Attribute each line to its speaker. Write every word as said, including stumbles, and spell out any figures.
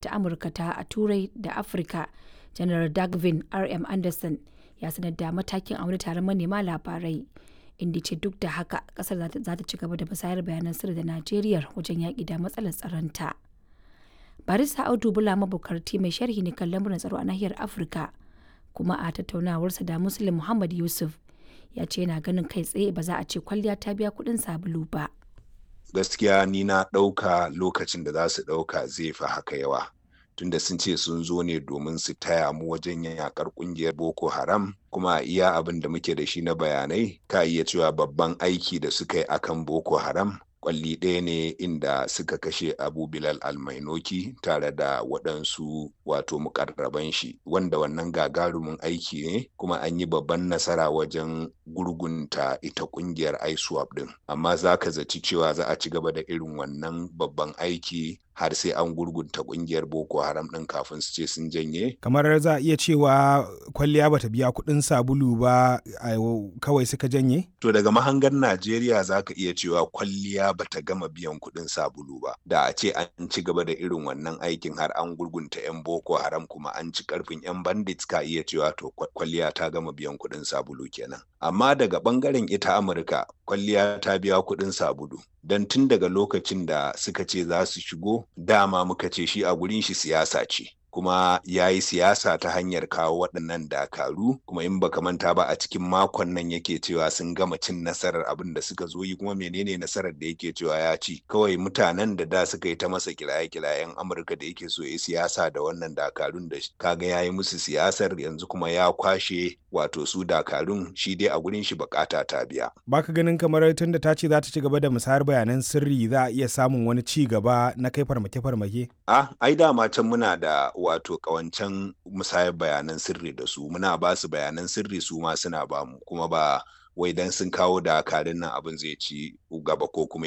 Speaker 1: Ta Amurka ta a Turai da Afirka, Janar Dagvin R. M. Anderson ya sanar da matakin a wani taron manema labarai, inda ya ce duk da haka kasar za ta ci gaba da musayar bayanan sirri da Najeriya wajen yaƙi da matsalar tsaronta. Barista Audu Bulama Bukarti mai sharhi ne kan lamuran tsaro a nahiyar Afirka, kuma a tattaunawarsa da Muslim Muhammad Yusuf ya ce yana ganin kai tsaye ba za a ce kwalliya ta biya kuɗin sabulu ba.
Speaker 2: Gaskiya ni na ɗauka lokacin da za su ɗauka zai fi haka yawa. Tunda sun ce sun zo ne domin su taya mu wajen yakar kungiyar Boko Haram, kuma iya abin da muke da shi na bayanai, ka iya cewa babban aiki da suka yi akan Boko Haram kwalli ɗaya ne, inda suka kashe Abu Bilal Almainoki tare da waɗansu wato mukarraban shi, wanda wannan gagarumin aiki ne, kuma an yi babban nasara wajen gurgunta ita ƙungiyar ISWAP ɗin. Amma za ka zaci cewa za a ci gaba da irin wannan babban aiki har sai an gurgunta ƙungiyar Boko Haram ɗin kafin su ce sun janye?
Speaker 3: Kamar za a iya cewa kwalliya bata biya kuɗin sabulu ba, kawai suka janye?
Speaker 2: To, daga mahangar Najeriya za ka iya cewa kwalliya bata gama biyan kuɗin sabulu ba. Da a ce an ci gaba da irin wannan aikin har an gurgunta 'yan Boko Haram kuma an ci karfin 'yan bandits, ka iya cewa to kwalliya ta gama biyan kuɗin sabulu kenan. Amma daga ɓangaren ita Amurka, kwalliya ta biya kuɗin sabulu. Don tun daga lokacin da suka ce za su shigo, dama muka ce shi a gurin shi siyasa ce. Kuma ya yi siyasa ta hanyar kawo waɗannan dakaru. Kuma in baka manta ba, a cikin makon nan yake cewa sun gama cin nasarar abin da suka zo yi. Kuma menene nasarar da yake cewa ya ci? Kawai mutanen da da suka yi ta masa kiraye-kirayen Amurka da yake so ya siyasa da wannan dakarun, da kaga ya yi musu siyasar, yanzu kuma ya kwashe wato su dakarun. Shi dai a gurin shi bukata ta biya.
Speaker 3: Baka ganin kamar tun da ta ce za ta ci gaba da musayar bayanan sirri, za a iya samun wani ci gaba na kai farmake-farmake?
Speaker 2: Ah, ai dama can muna da wato kawancan musayar bayanan sirri da su. Muna ba su bayanan sirri, su ma suna ba mu. Kuma ba wai dan sun kawo dakarun nan abin zai ci gaba ko kuma ya